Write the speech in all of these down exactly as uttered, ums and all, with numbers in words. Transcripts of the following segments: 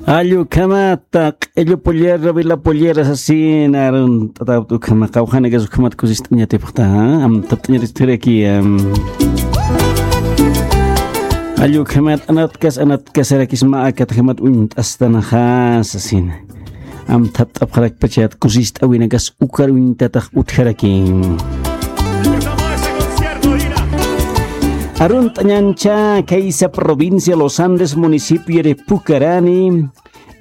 Allukhamata q'illu pollera, vela pollera sasina, arunt'atapta ukhama, qawqhanakas ukhamat kusist'añatipxta, amtapt'añatistxiraki. Allukhamat anatkas, anatkasarakisma, akatjamat uñt'astanaxa sasina. Amthapt'apxarakpachat kusist'awinakas ukar uñtatax utjaraki. Arunt'añancha khaysa provincia Los Andes, municipio de Pucarani,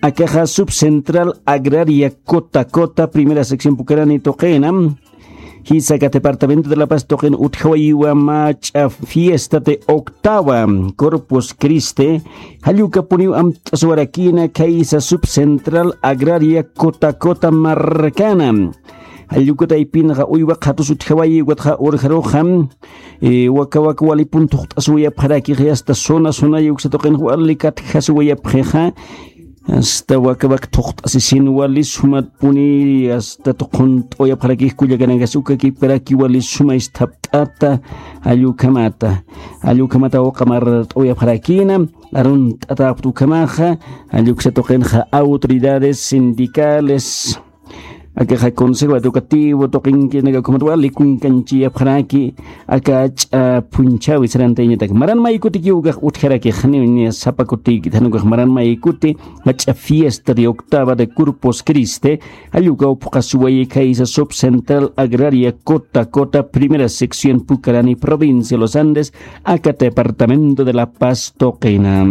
akaxa subcentral agraria Cota Cota, primera sección Pucarani tuqina. Jisa aka departamento de La Paz tuqin utjawayiwa mach'a fiesta de octava Corpus Christi, jallukapuniw amt'aswarakina khaysa subcentral agraria Cota Cota markana. Jallukataypinxa uywa qhatus utjawayi, ukatxa urjaruxa, eh, waka waka walipun thuqt'aswayapxaraki, hasta zona zona yuksa tuqin wali katjaswayapxixa. Hasta waka waka thuqt'asisin wali sumatpuni, hasta tuqhunt'awayapxaraki, kullakanakas ukakipkaraki wali suma isthapt'ata, jallukhamata, jallukhamata uqamart'awayapxarakina, arunt'atapxta ukhamaxa, jalluksa tuqinxa autoridades sindicales, akaxa Consejo Educativo tuqinkinaka ukhamat wali kunkanchiyapxaraki, aka jach'a phunchhawi sarantayañatak. Maran maykuti ukax utjaraki, janiw niya sapa kuti, jan ukax maran maykuti, jach'a fiesta de octava de Corpus Christi, jallukapuniw phuqhaswayi khaysa subcentral agraria Cota Cota, primera sección Pucarani, provincia Los Andes, aka departamento de La Paz tuqina.